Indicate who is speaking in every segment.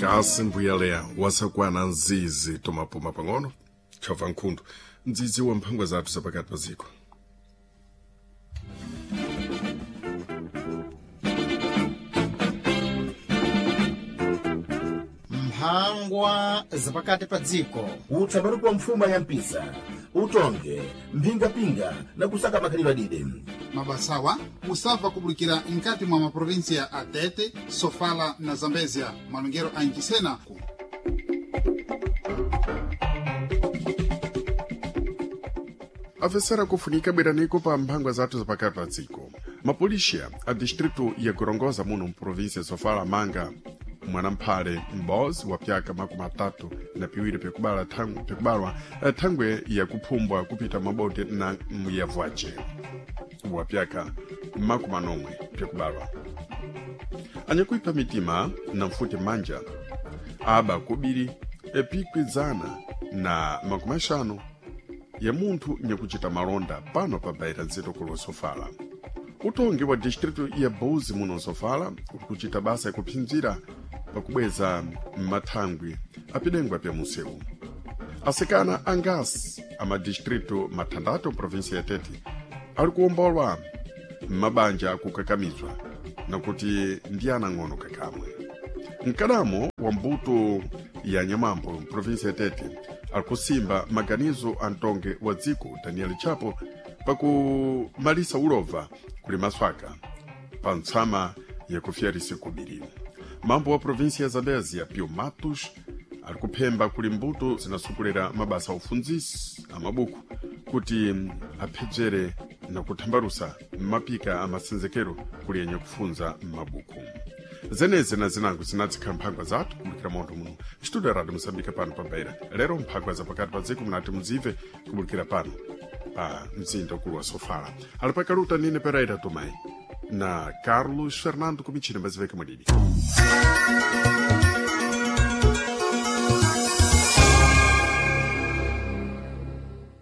Speaker 1: Kasi mbuyaleya wasakwana nzizi tomapuma pang'ono tshova nkhundu nzizi wa mphangwa zathu zapakati pa ziko.
Speaker 2: Mphangwa zapakati pa dziko.
Speaker 3: Utsabaruka mfuma ya mpisa, utonge mphingapinga na kusaka makhalidwe adide.
Speaker 4: Mabasawa musabva kubulikira nkati mwa maprovinsia a Tete, Sofala na Zambezia, malongero a Ncisena.
Speaker 1: Afesera kufunika bweraniko pa mphangwa zathu zapakati pa dziko. Mapolixia a distritu ya Gorongosa muno mprovinsia Sofala manga mwanamphale m'bozi wa pyaka 32 pyakubala pyakubalwa thangwe yakuphumbwa kupita mabote na muyavwace wa pyaka 40 pyakubalwa. Anyakuipha mitima na mfuti manja aba kubiri epikwizana na 50 ya munthu nyakuchita malonda pano pa baira nzeto kulo Sofala. Utongi wa distritu ya Buzi muno Sofala uli kuchita basa yakuphinzira pakubweza mathangwi apidengwa pya munsewu. Asikana angasi a madistritu mathandatu provinsia ya Tete ali kuwombolwa m'mabanja akukakamizwa nakuti ndi anang'ono kakamwe. Mkadamo wa mbuto ya Nyamambo provinsia ya Tete ali kusimba maganizo a mtonge wa dziko Daniel Chapo pakumalisa ulova kuli maswaka pa ntsama yakufyarisa kubiri. Mambo wa provinsia ya Zambezia Pio Matos ali kuphemba kuli mbuto zinasukulira mabasa a ufundzisi a mabuku kuti aphedzere na kuthambalusa mapika a masenzekero kuli yenye kufunza m'mabuku. Zenezi na zinango zinadzikhala mphangwa zathu kubulikira montho muno studio ya Radio Moçambique pano pa Beira. Lero mphangwa zapakati pa dziko munati mudzive kubulikira pano pa mzinda ukulu wa Sofala. Ali pakaluta Nine Pereira Tomé na Carlos Fernando Kumichina mbaziveke mwadidi.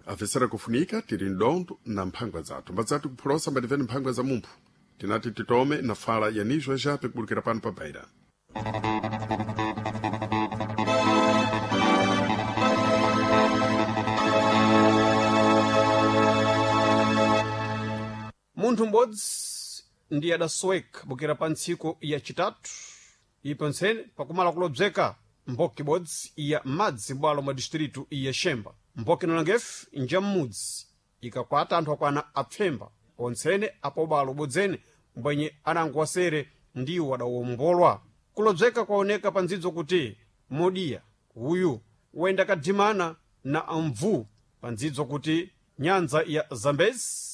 Speaker 1: Afesera kufunika tili mdondo na mphangwa zathu mbadzati kuphulosa mbativeni mphangwa za mumphu tinati titome na fala ya nizwa jape kubulikira pano pa Beira.
Speaker 5: Munthu m'bodzi ndi adasoweka bukira pa ntsiku ya chitatu ipo ntsene pakumala kulobzeka mboki ibodzi ya madzi bwalo mwa distritu ya Xemba. Mboki nolangefe nja m'mudzi ikakwata anthu akwana apfemba ontsene apo bwalo ubodzene mbwenye anango wasere ndiwo adawombolwa. Kulobzeka kwaoneka pa ndzidzo kuti modiya uyu wayenda kadimana na mvu pa ndzidzo kuti nyanza ya Zambezi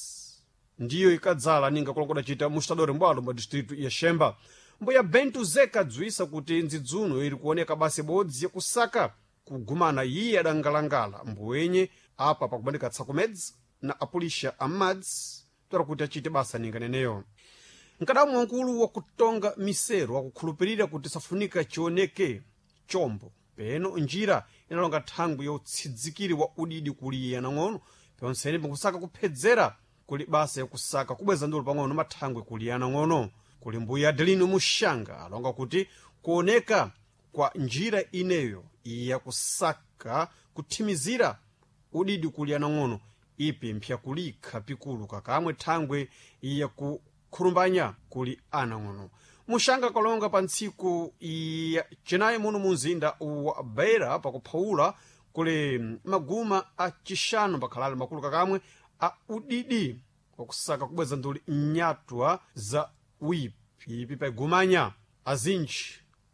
Speaker 5: ndiyo ikadzala ninga kulongoda chita mustadori mbwalo mwa distritu ya Xemba. Mbuya Bento Zeka adziwisa kuti ndzidzuno ili kuoneka basi bodzi yakusaka kugumana iye adangalangala mbuwenye apa pakubandika tsakumedzi na apulisha amadzi tola kuti achite basa ninga neneyo. Mkadamu wankulu wakutonga misero akukhulupirira kuti safunika chioneke chombo peno njira inalonga thangwi yotsidzikiri wa udidi kuli iye anang'ono ponsene pakusaka kuphedzera kuli basa yakusaka kubweza ndulo pang'ono mathangwi kuli anang'ono. Kuli mbuya Adelino Muxanga alonga kuti kuoneka kwa njira ineyo yakusaka kuthimizira udidi kuli anang'ono ipi mpyakulikha pikulu kakamwe thangwe yakukhulumbanya kuli anang'ono. Muxanga kalonga pa ntsiku ya cinayi muno mu mzinda wa Beira pakuphawula kuli maguma a cixanu pakhalale makulu kakamwe a udidi wakusaka kubweza nduli nyatwa za wipi ipi paigumanya azinji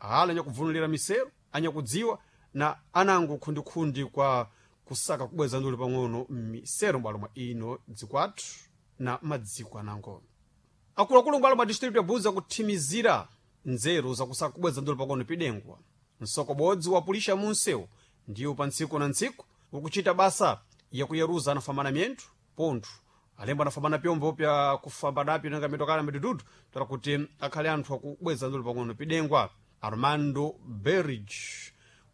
Speaker 5: ala anyakubvunulira misero anyakudziwa na anango khundikhundi kwa kusaka kubweza nduli pang'ono misero m'bwalo mwa ino dzikwathu na madziko anango. Akuluakulu m'bwalo mwa distritu ya Buza kuthimizira nzeru zakusaka kubweza nduli pang'ono pidengwa. Msoko bodzi wapulisha munsewu ndiwo pa ntsiku na ntsiku ukuchita basa yakuyeruza anafambana miyenthu pontho alembo anafambana pyombo pya kufamba napyo nanga mitokala midududu tola kuti akhale anthu akubweza ndulu pang'ono pidengwa. Armando Berridge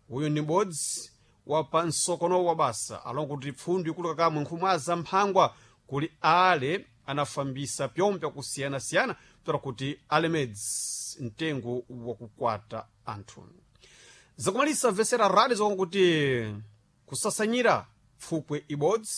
Speaker 5: uyu ndi m'bodzi wa pa msokono wa basa alonga kuti pfundu ikulu kakamwe nkhumwaza mphangwa kuli ale anafambisa pyombo pyakusiyanasiyana tola kuti alemedzi mtengo wakukwata anthu. Zakumalisa vesera radi zokuti kusasanyira pfupwe ibodzi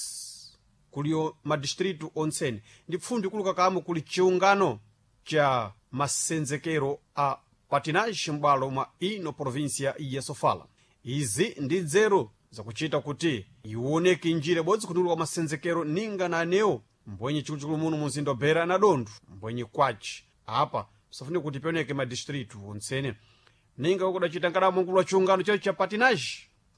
Speaker 5: kuliyo madistritu ontsene ndi pfundi kuluka kamo kuli chiungano cha masenzekero a patinage m'bwalo mwa ino província ya Sofala. Izi ndi nzeru zakuchita kuti iwoneke njira ibodzi kutuluka masenzekero ninga na anewo mbwenye chikuluchikulu muno muzinda wa Beira na Dondo mbwenye kwaci apa psafunika kuti pioneke madistritu ontsene ninga kudacita nkadamo nkulu wa chiungano chacho cha patinage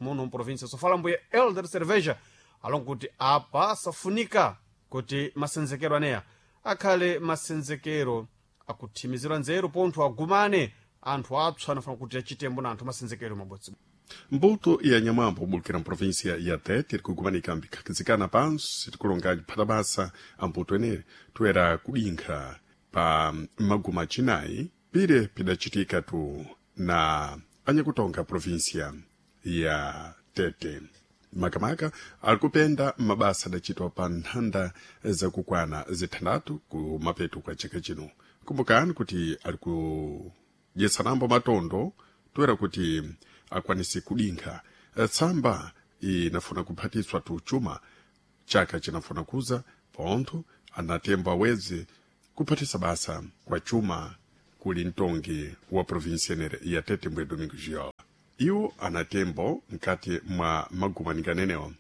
Speaker 5: muno mprovinsia Sofala mbuye Elder Cerveja alonga kuti apa safunika kuti masenzekero aneya akhale masenzekero akuthimizira nzeru pontho agumane anthu apsa anafuna kuti achitembo na anthu masenzekero mabodzi.
Speaker 1: Mbuto ya nyamwambo ubulukira mprovinsia ya Tete iri kugumanika mbikhakizikana pansi tikulonga phatabasa ambuto enere toera kudinkha pa maguma acinayi pire pidacitika tu na anyakutonga provinsia ya Tete. Makamaka ali kupenda mabasa adacitwa pa nthanda zakukwana zithandatu ku mapeto kwa chaka chino. Kumbukani kuti ali kudyetsanambo matondo toera kuti akwanise kudinkha tsamba inafuna kuphatiswa tuchuma chaka chinafuna kuza pontho anatembo aweze kuphatisa basa kwa chuma kuli mtongi wa provinsia enere ya Tete mbwe Domingo Giola. Iwo anatembo mkati mwa magumanikanenewa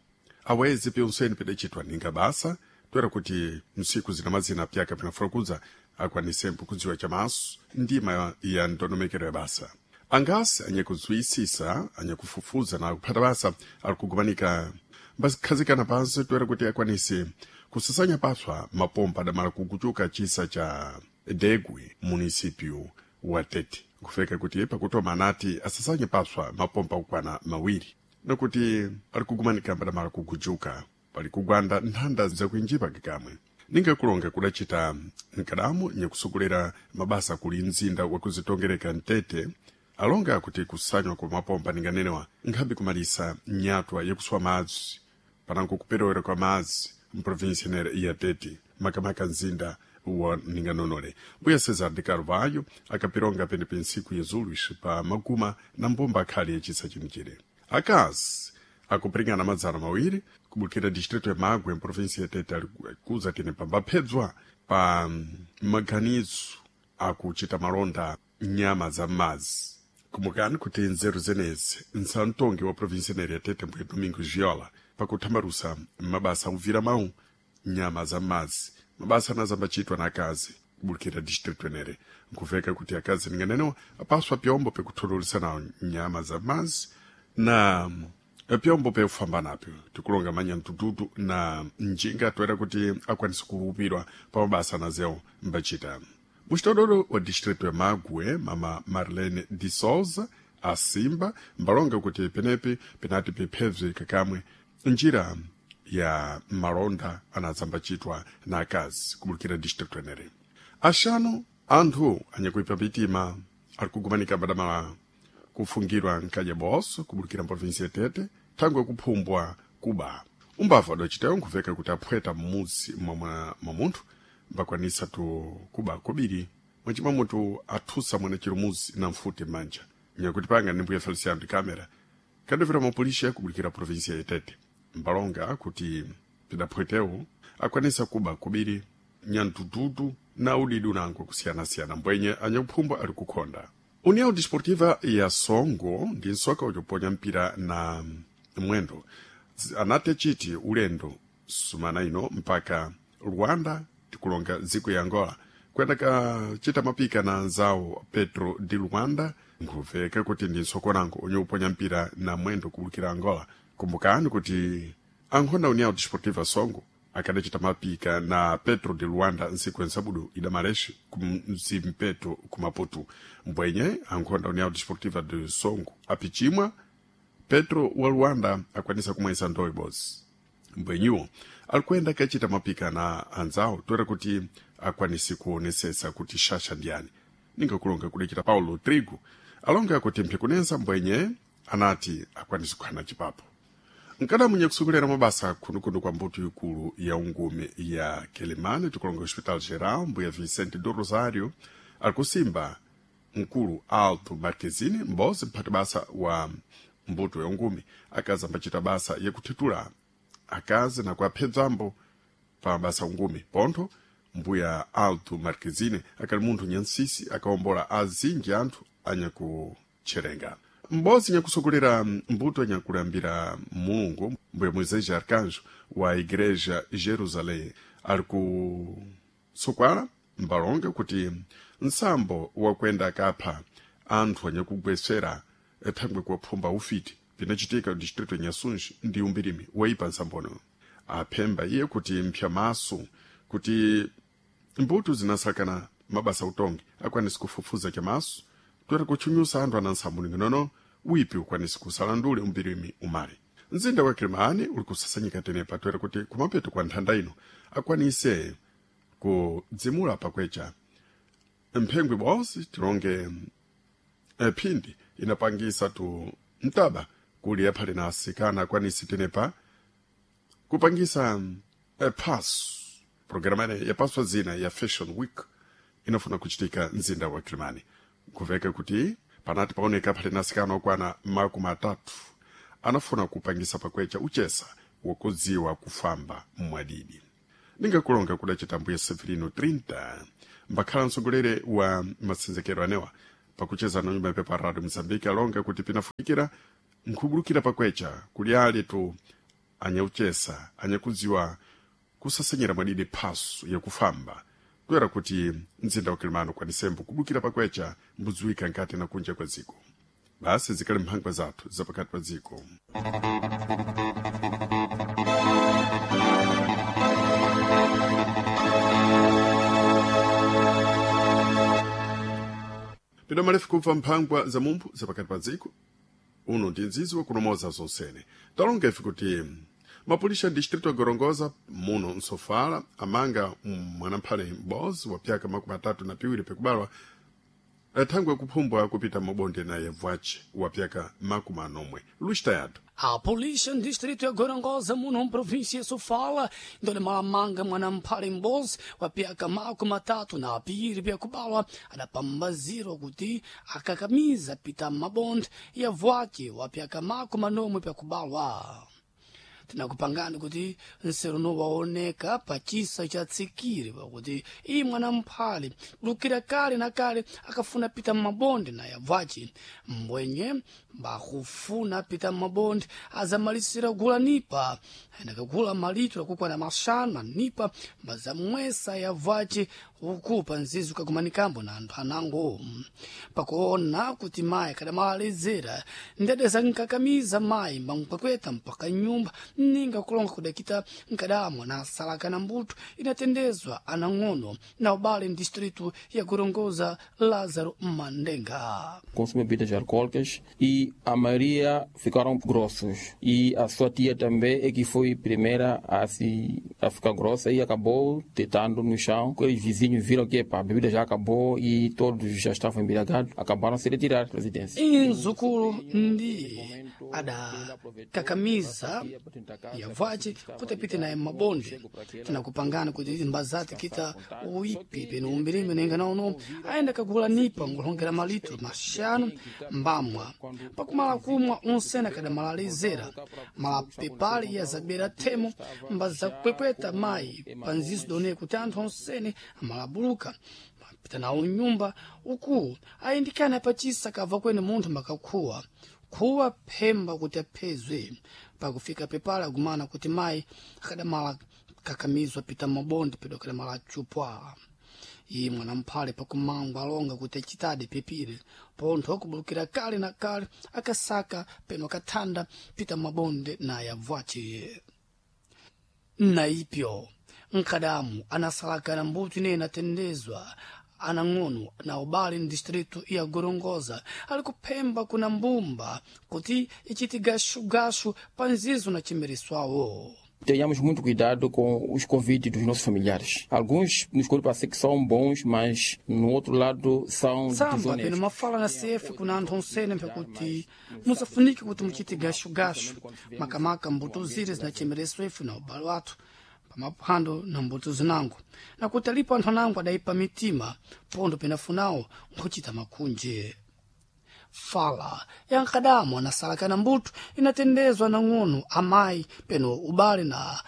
Speaker 1: aweze pyonseni pidacitwa ninga basa toera kuti msiku zina mazina pyaka pinafuna kuza akwanisembo kudziwa chamaso ndima ya ndondomekero ya basa. Angasi anyakudziyisisa anyakufufuza na kuphata basa ali kugumanika mbazikhazikana pansi toera kuti akwanise kusasanya paswa mapompa adamala kukuchuka chisa cha Degwe munisipyu wa Tete kufeka kuti pakutoma anati asasanye paswa mapompa kukwana mawiri nakuti ali kugumanika mbadamala kugujuka pali kugwanda nthanda zakuinjipa kikamwe ninga kulonga kudacita nkadamu nyakusogolera mabasa kuli mzinda wakuzitongereka Mtete alonga kuti kusanywa kwa mapompa ninganenewa nkhambi kumalisa nyatwa yakuswa madzi panango kuperewera kwa madzi mprovinsia inere ya Tete makamaka mzinda wa ninganonole. Mbuya Cesar de Carvalho akapironga penepe ntsiku ya zulus pa maguma na mbumba akhali yacisa chinichire. Akazi akupiringana madzana mawiri kubukira distrito ya Magwe mprovinsia ya Tete ali kuza tene pambaphedzwa pa maganizo akuchita malonda nyama za m'madzi. Kumbukani kuti nzeru zenezi nsamtongi wa provinsia inere ya Tete mbuya Domingo Giola pakuthambalusa mabasa akuvira mawu nyama za m'madzi mabasa anazambachitwa na akazi kubulukira distrito enere nkuveka kuti akazi ninganenewa apaswa pyombo pekuthololesa nawo nyama za madzi na pyombo pekufamba napyo tikulonga manyamtututu na njinga toera kuti akwanise kuwupirwa pa mabasa anazewo mbachita. Muxitodolo wa distrito ya Magwe mama Marlene de Souza asimba mbalonga kuti penepi penati piphebze kakamwe njira ya malonda anazambachitwa na akazi kubulukira distrito enere. Axanu anthu anyakuipa mitima ali kugumanika mbadamala kufungirwa nkadya boso kubulukira mprovinsia ya Tete thangwe kuphumbwa kuba. Umbava adacitayo nkuveka kuti aphweta m'mudzi mwa munthu mbakwanisa tu kuba kobiri mwachimwa mutu athusa mwana chirumuzi na mfuti m'manja. Nyakuti panga ndi mbuya Feliciano de Câmara kadovera mapolisi kubulukira provinsia ya Tete mbalonga kuti pidaphwetewo akwanisa kuba kubiri nyantututu na udidi unango kusiyanasiyana mbwenye anyakuphumbwa ali kukhonda. União Desportiva ya Songo ndi nsoka uchoponya mpira na mwendo anati achiti ulendo sumana ino mpaka Rwanda tikulonga dziko ya Angola kuyenda kachita mapika na anzawo Petro di Luanda nkuveka kuti ndi nsokonango onye uponya mpira na mwendo kubulukira Angola. Kumbukani kuti ankhonda União Desportiva Songo akadacita mapika na Petro de Luanda ntsiku ya nsabudu idamalexe kumzimpeto ku Maputo. Mbwenye ankhonda União Desportiva de Songo apichimwa Petro wa Luanda akwanisa kumwesa ndowe ibodzi. Mbwenyiwo alikuyenda kachita mapika na anzawo toera kuti akwanise kuonesesa kuti xaxa ndiyani. Ningakulonga kudacita Paulo Trigo alonga kuti mphikunensa mbwenye anati akwanise kuhana cipapo. Nkadamu nyakusokolera mabasa khundukhundu kwa mbuto ikulu ya ungume ya Quelimane tikulonga Hospital Geral mbuya Vicente do Rosário ali kusimba Mkulu Alto Marquezine m'bodzi mphati basa wa mbuto ya ungumi akazi ambacita basa yakuthitula akazi na kuaphedzambo pa mabasa ungumi. Pontho mbuya Alto Marquezine akali munthu nyansisi akaombola azinji anthu anyakutcherenga. M'bodzi nyakusogolera mbuto nyakulambira Mulungu mbuya Moisés Arcanjo wa Igreja Jerusalém ali kusokwala mbalonge kuti nsambo wakwenda akapha anthu anyakugwesera thangwe kuwaphumba ufiti pinachitika distrito nyasunji ndi umbirimi waipa nsambono. Aphemba iye kuti mphyamaso kuti mbuto zinasakana mabasa utongi akwanisi kufufuza chamaso toera kutchunyusa anthu ana nsambo ning'onono wipi ukwanisi kusalandule umbirimi umale. Mzinda wa Kilimani uli kusasanyika tenepa toera kuti kumapeto kwa nthanda ino akwanise kudzimula pakwecha mphengwe bonse tilonge phindi inapangisa tu mtaba kuli aphale na asikana akwanisi tenepa kupangisa paso programa ine yapaswa zina ya Fashion Week inafuna kuchitika mzinda wa Kilimani. Kuveka kuti panati paoneka phale na asikana okwana 30 anafuna kupangisa pakwecha uchesa wakudziwa kufamba mwadidi. Ningakulonga kudacita mbuya Severino 30 mbakhala mtsogoleri wa masenzekero anewa pakucheza na nyumba yapepa Radio Mozambique alonga kuti pinafunikira nkhubulukira pakwecha kuli ali tu anyauchesa anyakudziwa kusasenyera mwadidi phaso yakufamba kuyera kuti mzinda wa Kilimani ukwanisembo kubulukira pakwecha mbudziwika nkati na kunja kwa dziko. Basi zikali mphangwa zathu zapakati pa dziko. Pino malefu kumva mphangwa za mumphu zapakati pa dziko uno ndi nzizi wakunomoza zonsene. Talonga ife kuti mapulisha distrito ya Gorongosa muno msofala amanga mwanamphale m'bodzi wa pyaka 32 pekubalwa thangwe kuphumbwa kupita mabonde naye bwace wa pyaka 40. Luís Tayado.
Speaker 6: A polícia no distrito ya Gorongosa, muno província ya Sofala, ndole malamanga mwanamphale m'bodzi wa pyaka 32 pyakubalwa adapambazirwa kuti akakamiza pita mabonde ya vwace wa pyaka 40 pyakubalwa. Tinakupangani kuti nseruno waoneka pachisa cha tsikiri pakuti iyi mwanamphale lukira kale na kale akafuna pita mmabonde naye abvaci mbwenye mbakufuna pita mmabonde azamalisira kugula nipa ayendakagula malitro akukwana 5 manipa mbazamwesa yabvaci uku pa nzizi ukakumanikambo na anthu anango. Pakuona kuti mayi akadamalezera ndedeza nkakamiza mayi mbamkwekweta mpaka nyumba ninga kulonga kudakita nkadamwa na asalakana mbuto inatendezwa anang'ono na ubale mdistritu ya Gorongosa. Lázaro Mandenga
Speaker 7: consume bebidas alcoólicas e a maioria ficaram grossos. E a sua tia também é que foi primeira a se a ficar grossa e acabou deitando no chão. Os vizinhos viram que epa, a bebida já acabou e todos já estavam embriagados, acabaram se retirar da residência.
Speaker 6: Inzukulu ndi adakakamiza yavace kuti apite naye mmabonde. Tinakupangana kuti mbazati kita uipi peno umbirime nenga naono ayenda kagula nipa ngulongera malitro 5 mbamwa pakumala kumwa unsena kadamalalizera malapepali ya zabera themo mbazakwekweta mayi panzizo done kuti anthu onsene amalabuluka mapita nawo nyumba uku ayindikana pachisa kabva kwene munthu makakhuwa khuwa phemba kuti aphezwe. Pakufika pepala agumana kuti mayi akadamala kakamizwa pita mabonde pedo akadamala chupwa. Iye mwanamphale pakumangwa alonga kuti achitadi pepire pontho akubulukira kale na kale akasaka peno akathanda pita mabonde naye abvace. Naipyo nkadamu anasalakana mbuto ineyi inatendezwa anang'ono na ubale mdistritu ya Gorongosa ali kuphemba kuna mbumba kuti ichiti gashugashu pa nzizo na chimereswawo.
Speaker 7: Tenhamos muito cuidado com os convites dos nossos familiares. Alguns nos parece que são bons, mas no outro lado são
Speaker 6: Tsamba
Speaker 7: desonestos.
Speaker 6: peno mafala na CF kuna anthu onsene mphakuti musafunike kuti muchite gashugashu makamaka mbuto zire zinachemereswa ife na ubale wathu. pamaphwando na mbuto zinango, nakuti alipo anthu anango adayipa mitima pondo penafunawo nkhuchita makhunje. Fala ya nkadamo anasalakana mbuto inatendezwa na ng'ono amayi peno ubale na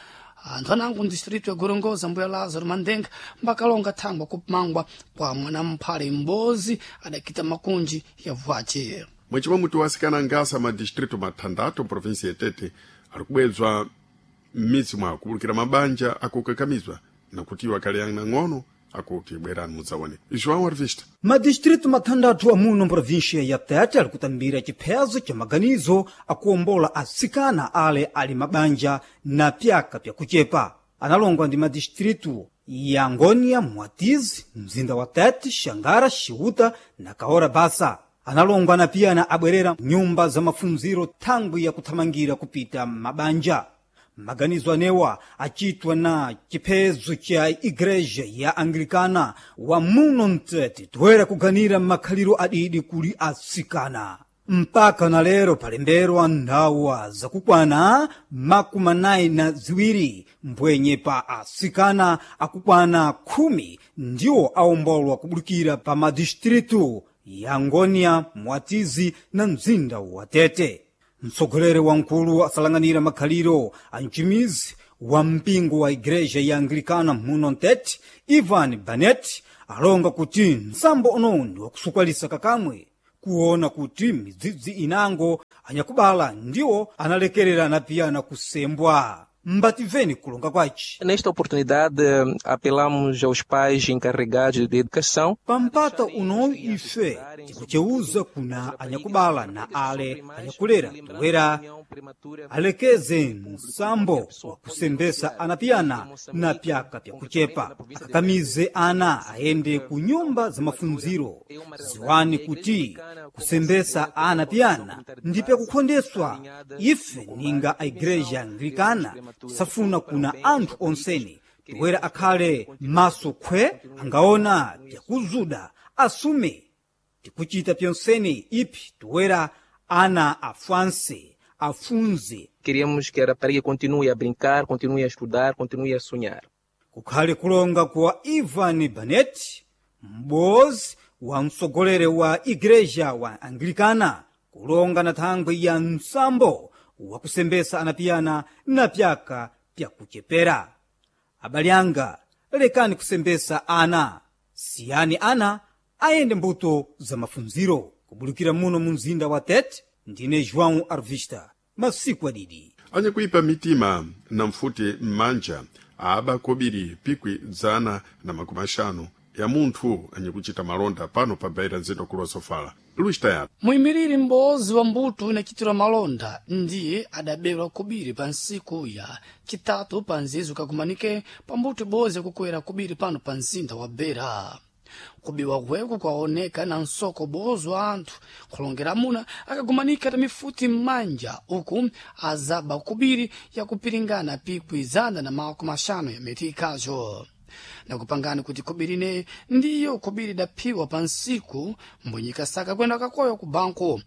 Speaker 6: anthu anango mdistritu ya Gorongosa mbuya Lazaro Mandenga mbakalonga thangwa kumangwa kwa mwanamphale m'bozi adakita makunji ya vwace.
Speaker 1: Mwechimwe muti wasikana ngasa madistritu mathandathu provinsi yetete ali kubwedzwa m'midzi mwawo kubulukira mabanja akukakamizwa nakuti iwo akhali ang'ono akuti bwerani mudzaone. João Arvista.
Speaker 8: Madistritu mathandathu amuno mprovinsia ya Tete ali kutambira chiphezo cha maganizo akuwombola atsikana ale ali mabanja na pyaka pyakuchepa. Analongwa ndi madistritu ya Ngônia, Mwatizi, mzinda wa Tete, Xangara, Xiuta na Kaora Basa. Analongwa na piyana abwerera nyumba za mafunziro thangwi ya kuthamangira kupita mabanja. Maganizo anewa achitwa na chiphezo cha igreja ya Anglikana wa muno mtete toera kuganira makhaliro adidi kuli atsikana. Mpaka na lero palemberwa ndawa zakukwana 42 mbwenye pa atsikana akukwana 10 ndiwo awombolwa kubulukira pa madistritu ya Ngônia, Mwatizi na mzinda wa Tete. Mtsogoleri wamkulu asalang'anira makhaliro a mchimizi wa mpingo wa igreja ya Anglikana muno Mtete, Ivan Banet, alonga kuti msambo uno ndi wakusukwalisa kakamwe kuona kuti midzidzi inango anyakubala ndiwo analekerera na piyana kusembwa. Mbativeni kulonga kwaci.
Speaker 9: Nesta oportunidade, apelamos aos pais encarregados de educação.
Speaker 8: Pampata uno ife tikuceuza kuna anyakubala na ale anyakulera toera alekeze msambo wa kusembesa anapiyana na pyaka pyakuchepa, akakamize ana aende ku nyumba za mafunziro. Ziwani kuti kusembesa ana piyana ndi pyakukhondeswa. Ife ninga a igreja Anglikana tisafuna kuna anthu onsene toera akhale maso khwe angaona pyakuzuda asume. Tikuchita pyonsene ipi toera ana afanse afunze.
Speaker 9: Queremos que a rapariga continue a brincar, continue a estudar, continue a sonhar.
Speaker 8: Kukhale kulonga kwa Ivan Banet, m'bozi wa mtsogoleri wa igreja wa Anglikana, kulonga na thangwi ya msambo wakusembesa anapiyana na pyaka pyakuchepera. Abale anga, lekani kusembesa ana, siyani ana ayende mbuto za mafunziro. Kubulukira muno mu mzinda wa Tete, ndine João Arvista, masiku adidi.
Speaker 1: Anyakuipa mitima na mfuti m'manja aba kobiri pikwi 150 ya munthu anyakuchita malonda pano pa Beira mzinda kulo Sofala. Luis Tayari.
Speaker 6: Muyimiriri m'bozi wa mbuto inachitira malonda ndiye adaberwa kubiri pa nsiku ya chitatu pa nzizo kakumanike pa mbuto ibozi yakukwera kubiri pano pa mzinda wa Beira. Kubiwa kweku kwaoneka na nsoko bozo wa anthu kulongera amuna akagumanika ta mifuti m'manja uku azaba kubiri yakupiringana pikwi 150 ya metikazo nakupangani kuti khobiri ineyi ndiyo khobiri idaphiwa pa nsiku mbwenyikasaka kwenda kakoyo ku banko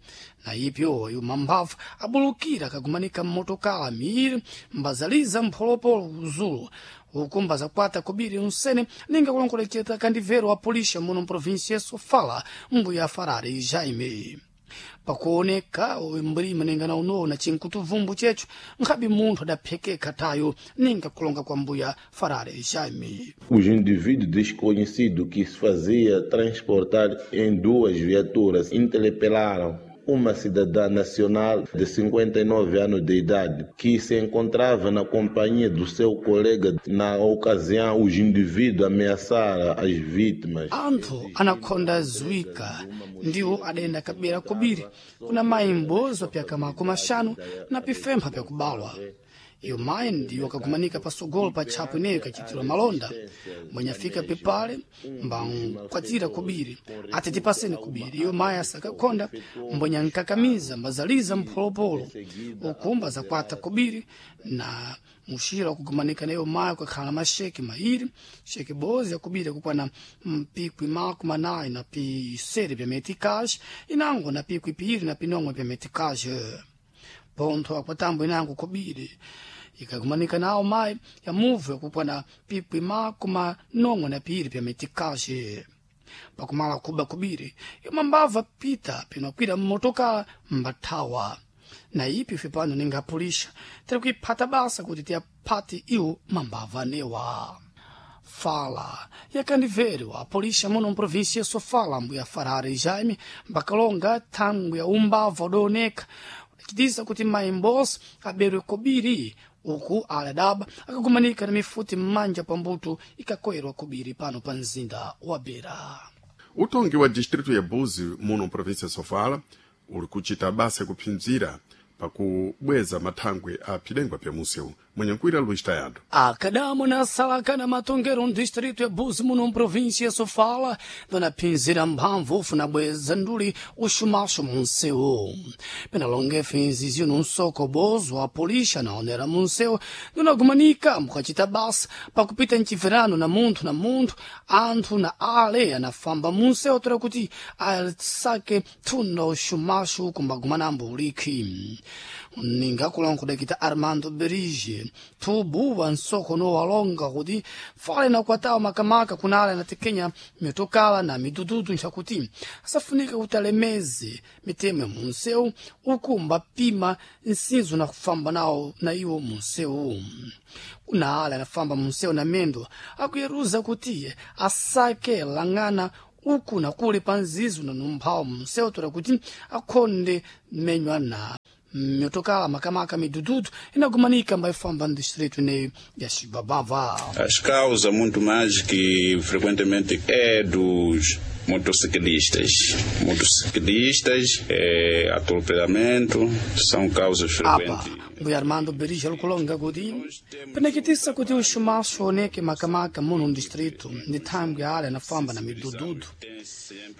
Speaker 6: na ipyo yuma mphavu abulukira akagumanika mmotokala miiri mbazaliza mpholopolo kuzulu uku mbazakwata khobiri unsene ninga kulongoleceta kandivero wa polícia muno mprovinsia ya Sofala mbuya Farare Jaime. Pakuoneka mlima ninga na unowo na chinkutuvumbu checho nkhabi munthu adaphekeka tayo ninga kulonga kwa mbuya Farare Jaime.
Speaker 10: Os indivíduos desconhecidos que se fazia transportar em duas viaturas interpelaram uma cidadã nacional de 59 anos de idade que se encontrava na companhia do seu colega. Na ocasião, os indivíduos ameaçaram as vítimas.
Speaker 6: Anthu anakhonda zuika ndiwo adayenda kabera kobiri kuna mayi m'bozi wa pyaka 50 na pifempha pyakubalwa. Iyo mayi ndiyo akagumanika pasogolo pa tchapo ineyo ikachitirwa malonda mwenyafika pepale mbankwatira kobiri ati tipaseni kobiri. Iyo mayi asakakhonda mbwenya nkakamiza mbazaliza mpholopolo uku mbazakwata kobiri na muxira wakugumanika na iyo mayi kukakhala maxeke mairi xeke bozi yakubiri yakukwana mpikwi 40 na pisere pya meticage inango na pikwi piiri na pinomwe pya meticage. Pontho akwatambo inango kobiri Ikakumanika nawo mayi ya muvu yakukwana pikwi makumi nomwe na piri pya metikaxe. Pakumala kuba kubiri yomwe mbava pita pinokwira mmotokala mbathawa. Na ipi ife pano ninga apulixa tiri kuiphata basa kuti tiyaphati iwo mambava anewa. Fala yakandivero apolixa muno mprovíncia Sofala mbuya Farare Jaime mbakalonga thangwi ya umbava udaoneka udacitisa kuti mayi Mbosi aberwe kobiri uku ali adaba akagumanika na mifuti m'manja pambuto ikakoyerwa kobiri pano pa mzinda wa Beira.
Speaker 1: Utongi wa distrito ya Buzi muno província ya Sofala uli kuchita basa yakuphinzira pakubweza mathangwe a phidengwa pya munsewu. Mwenyankwira Luiz Tayado.
Speaker 6: Akadamo na salaka na matongero distrito ya Buzi muno mprovíncia ya Sofala vanaphinzira mphamvu ufuna bweza nduli uxumaxo munsewu. Penalonga finzizio num soko bozo a polícia naonera munsewu dunagumanika mukacita basa pakupita mchiverano na munthu na munthu anthu na ale anafamba munsewu toera kuti asake thunda uxumaxo kumbagumanambo ulikhi. Ningakulankhula kudakita Armando Berige thubu wa nsoko nowalonga kuti fale na kwatawa makamaka kunale anatekenya mitokala na midududu nchakuti asafunika kuti alemeze mitemo ya munsewu uku mbapima nsinzo na kufamba nawo na iwo munsewu. Kuna ale anafamba munsewu na mendo akuyeruza kuti asake lang'ana uku na kule pa nzizo na numphawo munsewu toera kuti akhonde menywa na mitokala makamaka midududu inagumanika mbaifamba no distrito ineyo ya Xibabava.
Speaker 11: As causas muito mais que frequentemente é dos motociclistas. Motociclistas, atropelamento, são causas frequentes.
Speaker 6: Mbuya Armando Berija lukulonga kuti penekitisa kuti uxumaxo oneke makamaka muno mdistrito ndi thangwi ale anafamba na midududu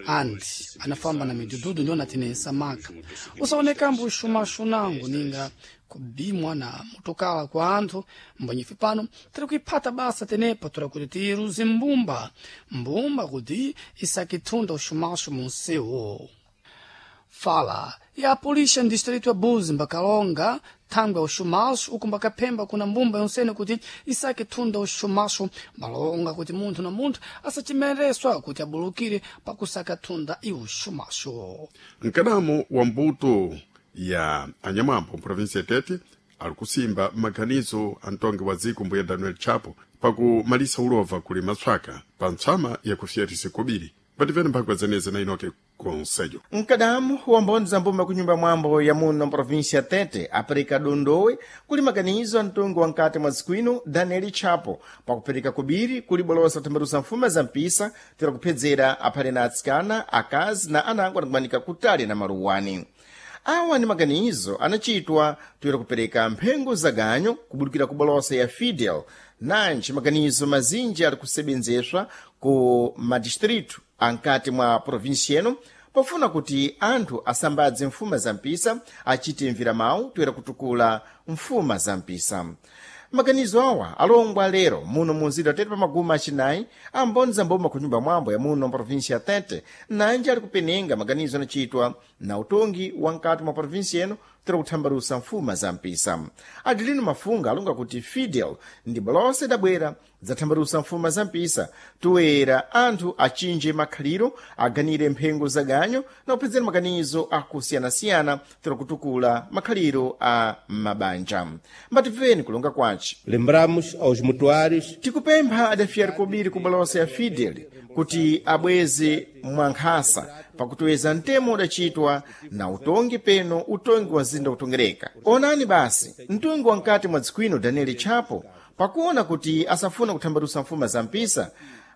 Speaker 6: andi anafamba na midududu ndiwo natinesa maka usaonekambo uxumaxo nango ninga kubimwa na motokala kwa anthu mbonyefe pano tiri kuiphata basa tenepa tora kuti tiruze mbumba mbumba kuti isakithunda uxumaxo munsewu. Fala ya polícia no distrito ya Buzi mbakalonga thangwi ya uxumaxo uku mbakaphemba kuna mbumba yonsene kuti isake thunda uxumaxo mbalonga kuti munthu na munthu asacimereswa kuti abulukire pakusaka thunda iuxumaxo.
Speaker 1: Mkadamo wa mbuto ya anyamwambo mprovíncia ya Tete ali kusimba maganizo a mtongi wa dziko mbuya Daniel Chapo pakumalisa ulova kuli matswaka pa ntsama yakufiyatisa kobiri. Pativene mphangwa zeneze na inoke konselho.
Speaker 12: Mkadamu wa mboni za mbuma kunyumba mwambo ya muno mprovíncia ya Tete apereka dondowe kuli maganizo a mtungu wa nkati mwa dziko ino Daniel Chapo pakupereka kubiri kuli bolosa kuthambalusa mfuma za mpisa tera kuphedzera aphale na atsikana akazi na anango anakumanika kutali na maluwani. Awa ni maganizo anachitwa toera kupereka mphengo za ganyo kubudukira ku bolosa ya Fidel nanji maganizo mazinji ali kusebenzeswa ku madistritu ankati mwa província ino pofuna kuti anthu asambadze mfuma za mpisa achite mviramawu toera kutukula mfuma za mpisa. Maganizo awa alongwa lero muno munzinda Tete pa maguma acinayi amboni za mboma ku nyumba mwambo ya muno mprovíncia ya Tete nanji ali kupenenga maganizo anachitwa na utongi wa nkati mwa província ino tera kuthambalusa mfuma za mpisa. Adelino Mafunga alonga kuti Fidel ndi bolosa idabwera zathambalusa mfuma za mpisa toera anthu achinje makhaliro aganire mphengo za ganyo na kuphedzera maganizo akusiyanasiyana tera kutukula makhaliro a mabanja. Mbatimveni kulonga kwace.
Speaker 13: Lembramos aos mutuários
Speaker 12: Tikupempha adafiyari kobiri ku bolosa ya Fidel kuti abweze mwankhasa pakutoweza mtemo udachitwa na utongi peno utongi wa mzinda kutongereka. Onani basi mtungi wa mkati mwa dziko ino Daniel Chapo pakuona kuti asafuna kuthambalusa mfuma za mpisa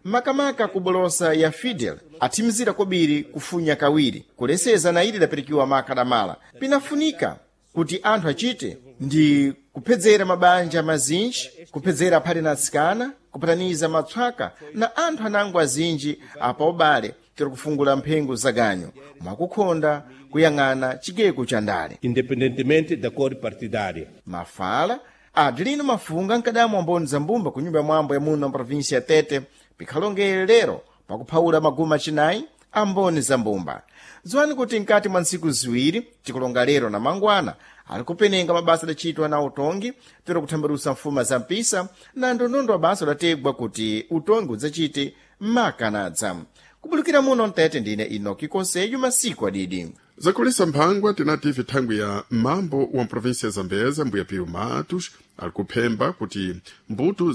Speaker 12: makamaka ku bolosa ya Fidel athimizira kobiri kufunya kawiri kuleseza na ili idapirikiwa makadamala. Pinafunika kuti anthu achite ndi kuphedzera mabanja mazinji kuphedzera aphale na atsikana kupataniza matswaka na anthu anango azinji apa ubale tiri kufungula mphengo za ganyo mwakukhonda kuyang'ana chigeko cha ndale.
Speaker 13: Independentemente da cor partidária.
Speaker 12: Mafala Adelino Mafunga nkadamu amboni za mbumba ku nyumba ya mwambo ya muno mprovíncia ya Tete pikhalongere lero pakuphawula maguma acinayi amboni za mbumba. Dziwani kuti mkati mwa ntsiku ziwiri tikulonga lero na mangwana ali kupenenga mabasa adacitwa na utongi toera kuthambalusa mfuma za mpisa na ndondondo wa basa udategwa kuti utongi udzachite makanadza. Kubulukira muno mtete ndine Inoki Konseyo masiku adidi.
Speaker 1: Zakulisa mphangwa tinati thangwi ya mambo wa mprovinsia ya Zambeza mbuya Pio Matos ali kuphemba kuti mbuto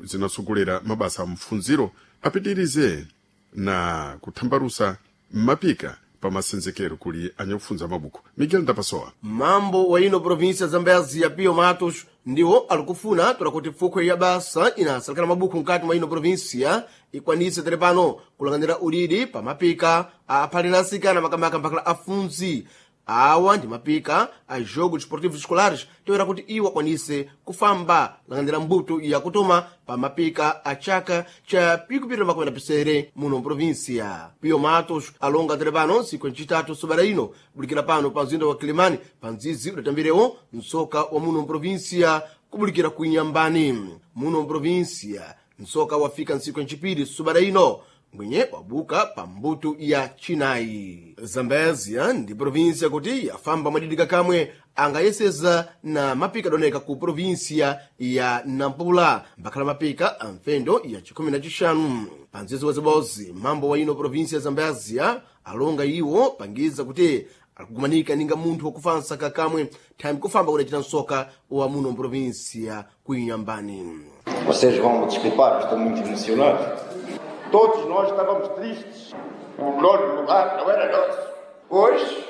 Speaker 1: zinasugulira mabasa a mfunziro apitirize na kuthambalusa mapika pa masenzekero kuli anyakufunza mabuku. Miguel Ndapasowa.
Speaker 14: Mambo wa ino província Zambezia Pio Matos ndiwo alikufuna tola kuti fukhwe ya basa inasalekana mabuku mkati mwa ino província ikwanise tere pano kulang'anira udidi pa mapika aphali na asikana makamaka mpakala afunzi. Awa ndi mapika a jogo desportivos escolares toera kuti iwo akwanise kufamba lang'anira mbuto yakutoma pa mapika a chaka cha pikupitira makumi na pisere muno mprovinsia. Pio Matos alonga tere pano ntsiku ncitatu sobera ino bulikira pano pa mzinda wa Kilimani pa mdzidzi udatambirewo msoka wa muno mprovinsia kubulikira ku Inyambani. Muno mprovinsia msoka wafika ntsiku ncipiri sobera ino mwenye wabuka pa mbuto ya chinayi. Zambezia ndi provinsia kuti yafamba mwadidika kamwe angayeseza na mapika adoneka ku provinsia ya Nampula mbakhala mapika a mfendo ya chikhumi na chixanu. Pa mdzidzi wazibozi mambo wa ino provinsia ya Zambezia alonga iwo pangiza kuti alikugumanika ninga munthu wakufansa kakamwe thayimi kufamba kudacita msoka wa muno mprovinsia ku Inyambani.
Speaker 15: Vocês vão me desculpar, estou muito emocionado. Todos nós estávamos tristes. O nono lugar não era nosso. Hoje,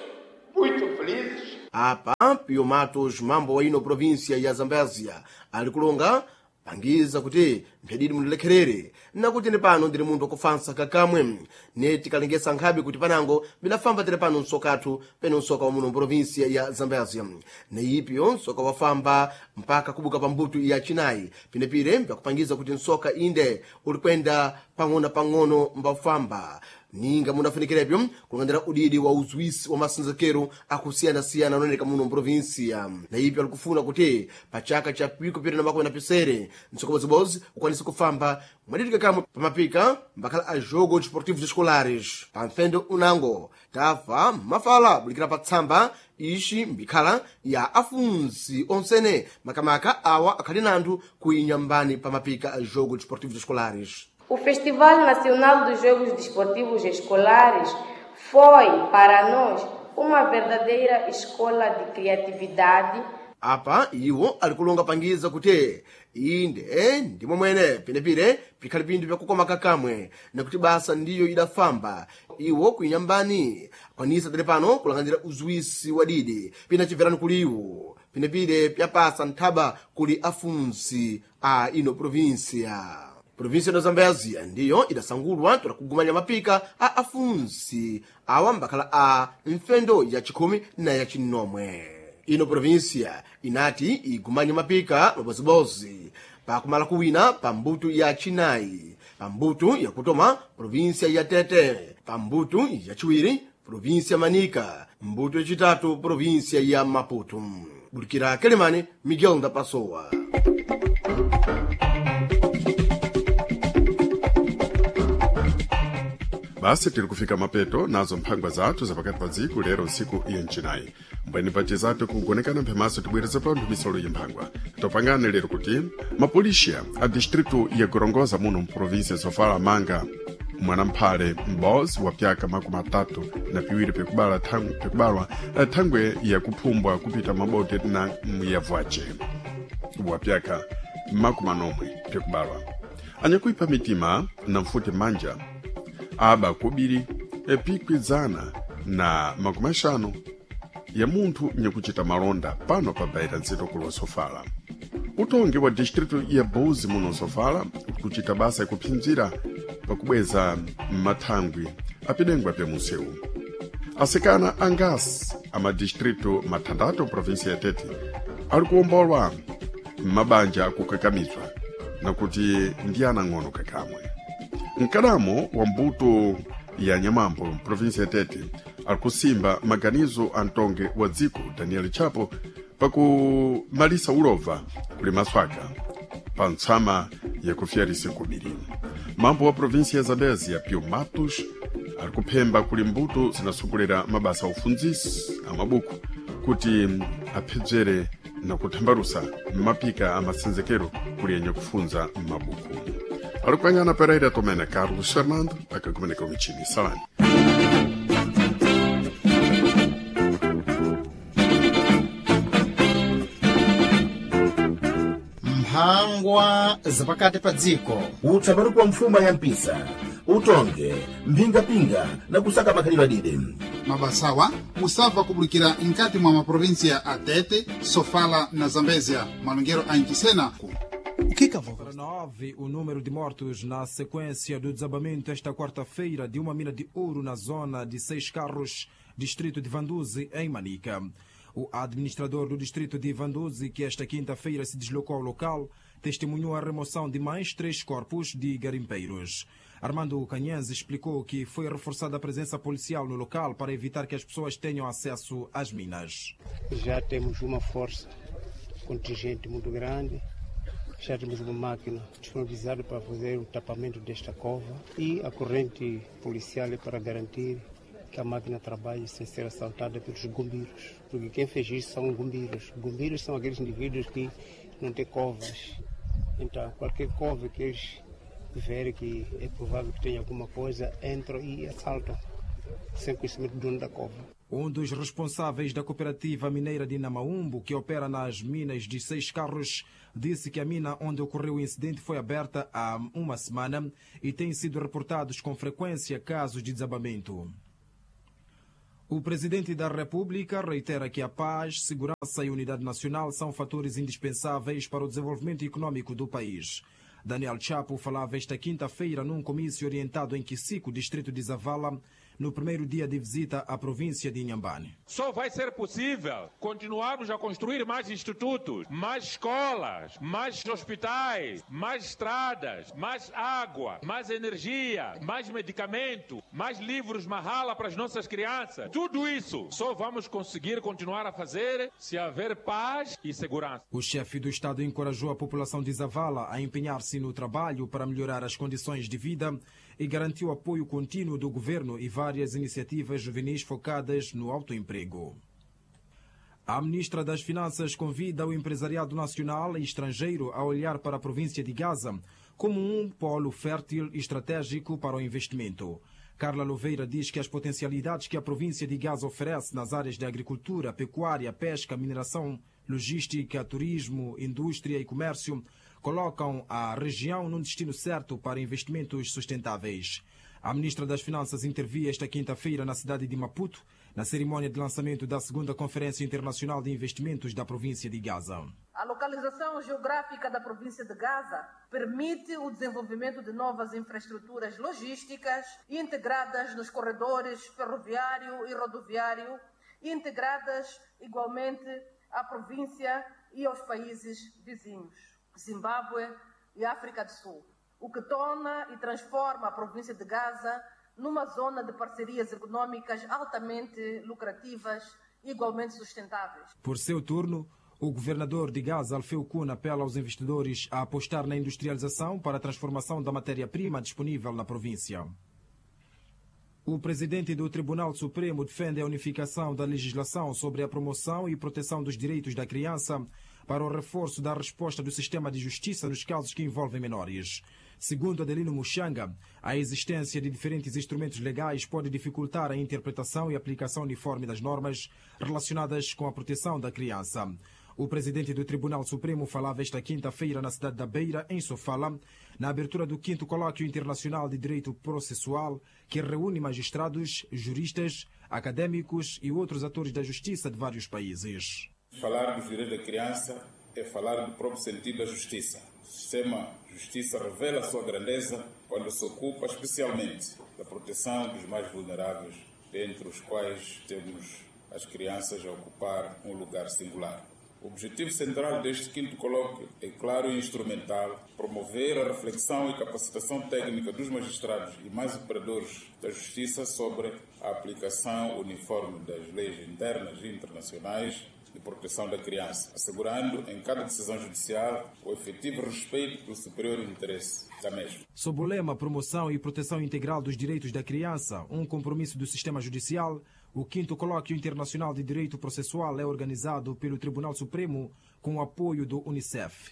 Speaker 15: muito felizes.
Speaker 14: Apa Pio Matos mambo wa ino província ya Zambésia ali kulonga pangiza kuti mphedidi mundilekherere nakuti ni pano ndili munthu wakufansa kakamwe ne tikalengesa nkhabe kuti panango bidafamba tere pano msokathu pene msoka wa muno mprovinsia ya Zambésia. Neipyo msoka wafamba mpaka kubuka pa mbuto ya chinayi pinepire mpyakupangiza kuti msoka inde ulikwenda pang'ono-pang'ono mbafamba ninga munafunikirepyo kulang'andira udidi wa uzwisi wa masenzekero akusiyana-siyana anooneka muno mprovinsia. Na ipyo alikufuna kuti pa chaka cha pikupita na makumi na pisere msokobozibozi ukwanise kufamba mwaditika kamwe pamapika mbakhala a jogo desportivos escolares. Pa mfendo unango tafa mafala bulikira pa tsamba ixi mbikhala ya afunzi onsene makamaka awa akhali nanthu ku Inyambani pa mapika a jogo desportivos escolares.
Speaker 16: O Festival Nacional dos Jogos Desportivos Escolares foi, para nós, uma verdadeira escola de criatividade.
Speaker 14: Apa iwo ali kulonga pangiza kuti inde ndimo mwene pinepire pikhali pinthu pyakukoma kakamwe nakuti basa ndiyo idafamba iwo kuinyambani akwanisa tere pano kulang'andira uzwisi wa didi pina chibverani kuli iwo pinepire pyapasa nthaba kuli afunsi a ino provinsia. Provinsia ya Zambésia ndiyo idasangulwa tola kugumanya mapika a afunsi awa mbakhala a mfendo ya chikhumi na ya chinomwe. Ino provinsia inati igumanye mapika mabozibozi pakumala kuwina pa mbuto ya chinayi, pa mbuto yakutoma provinsia ya Tete, pa mbuto yachiwiri provinsia Manica, mbuto yachitatu provinsia ya Maputo. Bulikira Kelemani, Miguel Ndapasowa.
Speaker 1: Basi tiri kufika mapeto nazo mphangwa zathu zapakati pa dziko lero ntsiku ya mcinayi. Mbweni pace zathu kugonekana mphemaso tibwereza panthu misolo ya mphangwa. Topangane lero kuti mapolisiya a distritu ya Gorongosa muno mprovinsia Sofala manga mwanamphale m'bozi wa pyaka makumi atatu na piwiri pikubala pikubalwa thangwe yakuphumbwa kupita mabote na muyavwace wa pyaka makumi anomwe pikubalwa. Anyakuipha mitima na mfuti manja aba kubiri epikwizana na makumi axanu ya munthu nyakuchita malonda pano pa baira nzito kulo Sofala. Utongi wa distritu ya Buzi muno Sofala kuchita basa yakuphinzira pakubweza mathangwi apidengwa pya munsewu. Asikana angasi amadistritu mathandatu provinsia ya Tete ali kuwombolwa m'mabanja akukakamizwa nakuti ndi anang'ono kakamwe. Mkadamo wa mbuto ya Nyamambo provinsia ya Tete alikusimba maganizo a mtonge wa dziko Daniel Chapo pakumalisa ulova kuli maswaka pa ntsama yakufyarisa kubiri. Mambo wa provinsia ya Zambezia Pio Matos Ali kuphemba kuli mbuto zinasogolera mabasa a ufundzisi a mabuku kuti aphedzere na kuthambalusa mapika a masenzekero kuli yenye kufunza mabuku. Ali kukanyana Pereira Tomene Carlos Fernando akakumeneka michini salani.
Speaker 2: Mphangwa zapakati pa dziko.
Speaker 3: Utsabaruku wa mfuma ya mpisa, utonge, mphingapinga na kusaka makhalidwe adide.
Speaker 4: Mabasawa musabva kubulikira mkati mwa maprovinsia a Tete, Sofala na Zambezia. Malongero a Inchisena.
Speaker 17: Para 9, o número de mortos na sequência do desabamento esta quarta-feira de uma mina de ouro na zona de Seis Carros, distrito de Vanduzi, em Manica. O administrador do distrito de Vanduzi, que esta quinta-feira se deslocou ao local, testemunhou a remoção de mais 3 corpos de garimpeiros. Armando Canhães explicou que foi reforçada a presença policial no local para evitar que as pessoas tenham acesso às minas.
Speaker 18: Já temos uma força contingente muito grande. Já temos uma máquina disponibilizada para fazer o tapamento desta cova e a corrente policial é para garantir que a máquina trabalhe sem ser assaltada pelos gombiros. Porque quem fez isso são gombiros. Gombiros são aqueles indivíduos que não têm covas. Então, qualquer cova que eles verem que é provável que tenha alguma coisa, entram e assaltam, sem conhecimento do dono da cova.
Speaker 17: Um dos responsáveis da cooperativa mineira de Namaumbo, que opera nas minas de Seis Carros, disse que a mina onde ocorreu o incidente foi aberta há uma semana e têm sido reportados com frequência casos de desabamento. O presidente da República reitera que a paz, segurança e unidade nacional são fatores indispensáveis para o desenvolvimento econômico do país. Daniel Chapo falava esta quinta-feira num comício orientado em Quisico, distrito de Zavala, no primeiro dia de visita à província de Inhambane.
Speaker 19: Só vai ser possível continuarmos a construir mais institutos, mais escolas, mais hospitais, mais estradas, mais água, mais energia, mais medicamento, mais livros mahala para as nossas crianças. Tudo isso só vamos conseguir continuar a fazer se haver paz e segurança.
Speaker 17: O chefe do Estado encorajou a população de Zavala a empenhar-se no trabalho para melhorar as condições de vida e garantiu apoio contínuo do governo e várias iniciativas juvenis focadas no autoemprego. A ministra das Finanças convida o empresariado nacional e estrangeiro a olhar para a província de Gaza como um polo fértil e estratégico para o investimento. Carla Louveira diz que as potencialidades que a província de Gaza oferece nas áreas de agricultura, pecuária, pesca, mineração, logística, turismo, indústria e comércio colocam a região num destino certo para investimentos sustentáveis. A ministra das Finanças intervia esta quinta-feira na cidade de Maputo, na cerimônia de lançamento da segunda Conferência Internacional de Investimentos da província de Gaza.
Speaker 20: A localização geográfica da província de Gaza permite o desenvolvimento de novas infraestruturas logísticas integradas nos corredores ferroviário e rodoviário, integradas igualmente à província e aos países vizinhos, Zimbábue e África do Sul, o que torna e transforma a província de Gaza numa zona de parcerias econômicas altamente lucrativas e igualmente sustentáveis.
Speaker 17: Por seu turno, o governador de Gaza, Alfeu Kuhn, apela aos investidores a apostar na industrialização para a transformação da matéria-prima disponível na província. O presidente do Tribunal Supremo defende a unificação da legislação sobre a promoção e proteção dos direitos da criança para o reforço da resposta do sistema de justiça nos casos que envolvem menores. Segundo Adelino Muxanga, a existência de diferentes instrumentos legais pode dificultar a interpretação e aplicação uniforme das normas relacionadas com a proteção da criança. O presidente do Tribunal Supremo falava esta quinta-feira na cidade da Beira, em Sofala, na abertura do 5º Colóquio Internacional de Direito Processual, que reúne magistrados, juristas, acadêmicos e outros atores da justiça de vários países.
Speaker 11: Falar dos direitos da criança é falar do próprio sentido da justiça. O sistema de justiça revela a sua grandeza quando se ocupa especialmente da proteção dos mais vulneráveis, dentre os quais temos as crianças a ocupar um lugar singular. O objetivo central deste 5º colóquio é claro e instrumental: promover a reflexão e capacitação técnica dos magistrados e mais operadores da justiça sobre a aplicação uniforme das leis internas e internacionais de proteção da criança, assegurando em cada decisão judicial o efetivo respeito pelo superior interesse da mesma.
Speaker 17: Sob o lema Promoção e Proteção Integral dos Direitos da Criança, um compromisso do sistema judicial, o 5º Colóquio Internacional de Direito Processual é organizado pelo Tribunal Supremo com o apoio do Unicef.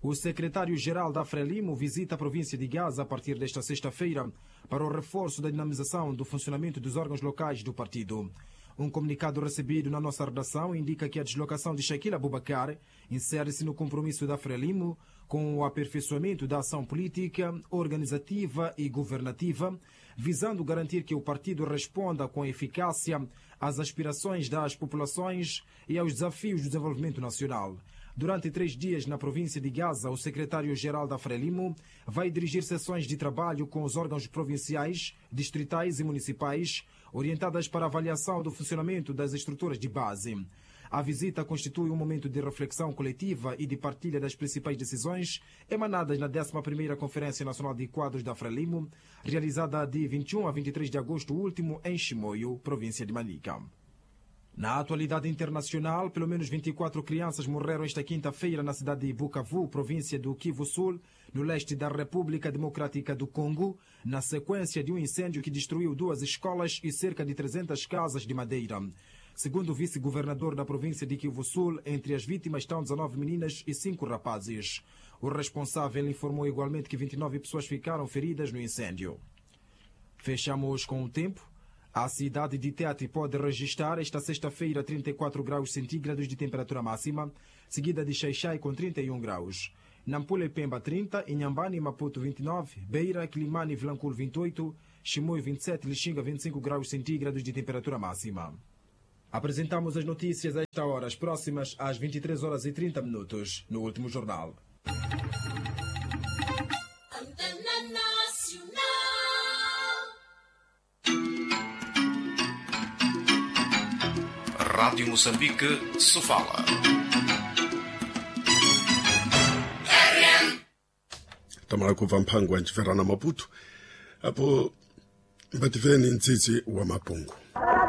Speaker 17: O secretário-geral da Frelimo visita a província de Gaza a partir desta sexta-feira para o reforço da dinamização do funcionamento dos órgãos locais do partido. Um comunicado recebido na nossa redação indica que a deslocação de Shaquille Abubacar insere-se no compromisso da Frelimo com o aperfeiçoamento da ação política, organizativa e governativa, visando garantir que o partido responda com eficácia às aspirações das populações e aos desafios do desenvolvimento nacional. Durante 3 dias na província de Gaza, o secretário-geral da Frelimo vai dirigir sessões de trabalho com os órgãos provinciais, distritais e municipais, orientadas para a avaliação do funcionamento das estruturas de base. A visita constitui um momento de reflexão coletiva e de partilha das principais decisões emanadas na 11ª Conferência Nacional de Quadros da Frelimo, realizada de 21 a 23 de agosto último em Chimoio, província de Manica. Na atualidade internacional, pelo menos 24 crianças morreram esta quinta-feira na cidade de Bukavu, província do Kivu Sul, no leste da República Democrática do Congo, na sequência de um incêndio que destruiu 2 escolas e cerca de 300 casas de madeira. Segundo o vice-governador da província de Kivu Sul, entre as vítimas estão 19 meninas e 5 rapazes. O responsável informou igualmente que 29 pessoas ficaram feridas no incêndio. Fechamos com o tempo. A cidade de Tete pode registrar esta sexta-feira 34 graus centígrados de temperatura máxima, seguida de Xaixai com 31 graus. Nampula e Pemba 30, Inhambane e Maputo 29, Beira, Quilimane e Vilanculo 28, Chimoio 27, Lixinga 25 graus centígrados de temperatura máxima. Apresentamos as notícias a esta hora, as próximas às 23h30, no último jornal.
Speaker 21: Rádio Moçambique, Sofala.
Speaker 1: Tamala kubva mphango wa nciverana Maputo apo mbativeni ntsitsi wa mapungu.